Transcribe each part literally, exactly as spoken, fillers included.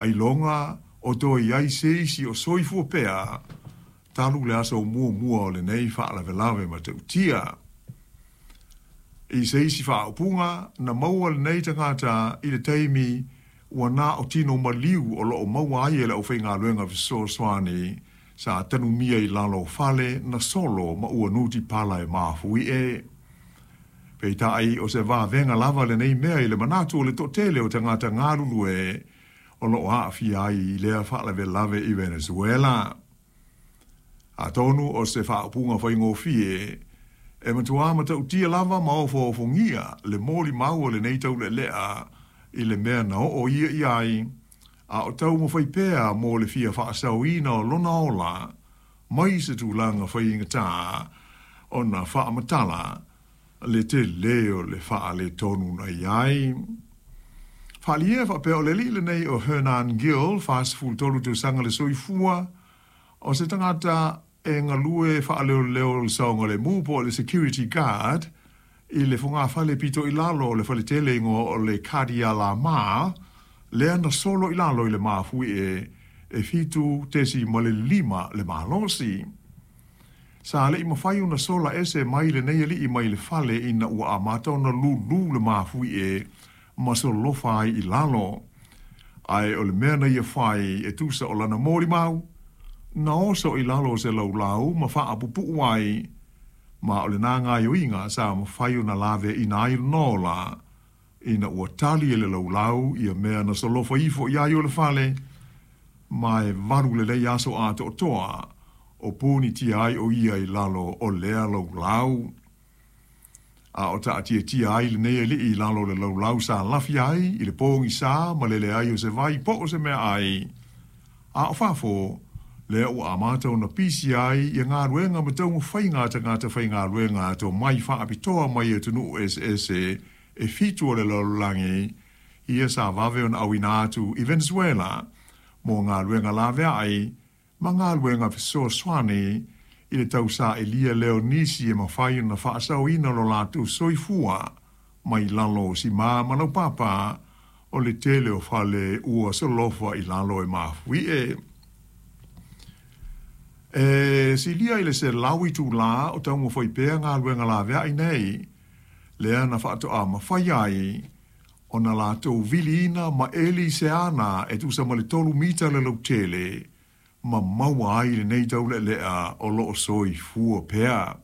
Ailoga o toe i ai se isi o soifua pea talu le aso muamua o lenei faalavelave matautia. I se isi faaupuga, na maua lenei tagata i le taimi ua na o tino maliu o loo maua ai e le aufaigaluega fesoasoani sa tanumia i lalo o fale na solo ma ua nutipala e mafuie. Peitai o se vavega lava lenei mea i le manatu o le toatele o tagata galulue o loo aafia ai i lea faalavelave i Venezuela. Atonu o se faaupuga faigofie e matuā matautia lava ma ofoofogia le molimau a lenei taulealea i le mea na oo ia i ai, a o taumafai pea mo le fia faasaoina o lona ola mai se tulaga faigatā ona faamatala le telē o le faaletonu na i ai. Faaalia e faapea o le alii lenei o Hernan Gil, fasefulu tolu tausaga le soifua, o se tagata e galue faaleoleo le saogalemu po o le security guard i le fogafale pito i lalo o le faletele igoa o le Kadialamar, lea na solo i lalo i le mafuie e fitu tesimale lima le malosi. Sa le'i mafai ona sola ese mai lenei alii mai le fale ina ua amata ona lūlū le mafuie ma solofa ai i lalo. Ae o le mea na ia fai e tusa o lana molimau, na oso i lalo o se laulau ma faapupuu ai, ma o lena gaoioiga sa mafai ona laveaina ai lona ola, ina ua tali e le laulau ia mea na solofa ifo i ai o le fale, ma e valu lelei aso atoatoa o ponitia ai o ia i lalo o lea laulau. A o taatiatia ai lenei alii i lalo o le laulau sa lafi ai i le pogisā ma le leai o se vai po o se meaai, a o fafo lea ua amata ona pisi ai ia galuega ma taumafaiga a tagata faigaluega tomai faapitoa mai atunuu eseese e fitu o le lalolagi ia sa vave ona auina atu i Venezuela mo galuega laveai ma galuega fesoasoani i le tausailia lea o nisi e mafai ona faasaoina lo latou soifua mai lalo o simā ma laupapa o le tele o fale ua solofa i lalo e mafuie. E silia i le selau itulā o taumafai pea galuega laveai nei, lea na faatoa mafai ai ona latou viliina ma eli i se ana e tusa ma le tolu mita le lautele ma maua ai lenei taulealea o loo soifua pea.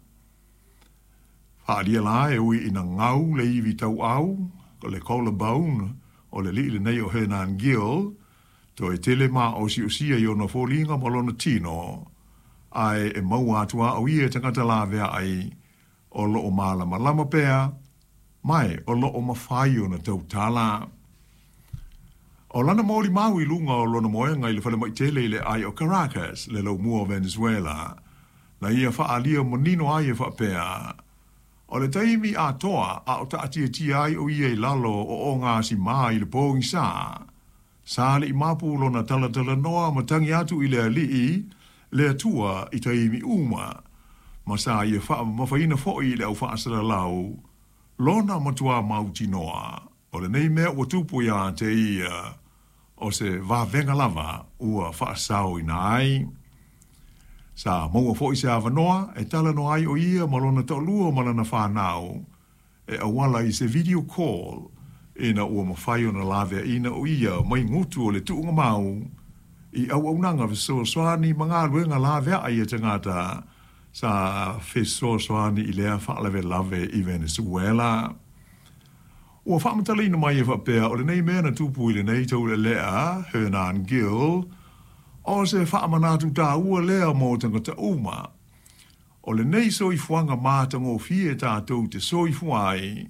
Faaalia la e ui ina gau le ivi tauau, le collarbone o le alii lenei o Hernan Gil, toe tele maosiosia i ona foliga ma lona tino, ae e maua atu lava o ia e tagata laveai o loo malamalama pea, ma e o loo mafai ona tautala. O lana molimau i luga o lona moega i le falemai tele i le aai o Caracas, le laumua o Venezuela, na ia faaalia manino ai e faapea, o le taimi atoa a o taatiatia ai o ia i lalo o ogasimā i le pogisā, sa le'i mapu lona talatalanoa ma tagi atu i le Alii, le Atua i taimi uma, ma sa ia faamamafaina foi i le au faasalalau lona matuā mautinoa o lenei mea ua tupu ia te ia, o se vavega lava ua faasaoina ai. Sa maua foi se avanoa e talanoa ai o ia ma lona toalua ma lana fanau e auala i se video call ina ua mafai ona laveaina o ia mai gutu o le tuugamau i auaunaga fesoasoani ma galuega laveai a tagata sa fesoasoani i lea faalavelave i Venezuela. Ua faamatalaina mai e faapea o lenei mea na tupu i lenei taulealea Hernan Gil, o se faamanatu taua lea mo tagata uma. O lenei soifuaga matagofie tatou te soifua ai,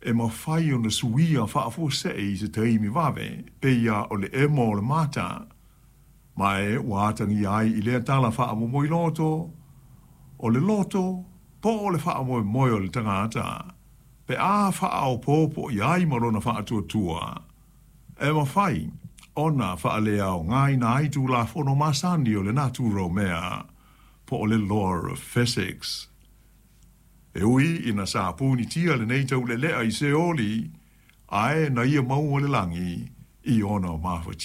e mafai ona suia faafuasei i se taimi vave, pei lava o le emo o le mata, ma e ua atagia ai i lea tala faamomoiloto, o le loto po o le faamoemoe o le tagata, pe a faaopoopo i ai ma lona faatuatua, e mafai ona faaleaogaina ai tulafono masani o le natura o mea, po o le law of physics. E ui ina sa punitia lenei taulealea i Seoli, ae na ia maua le lagi, I ona mafatia.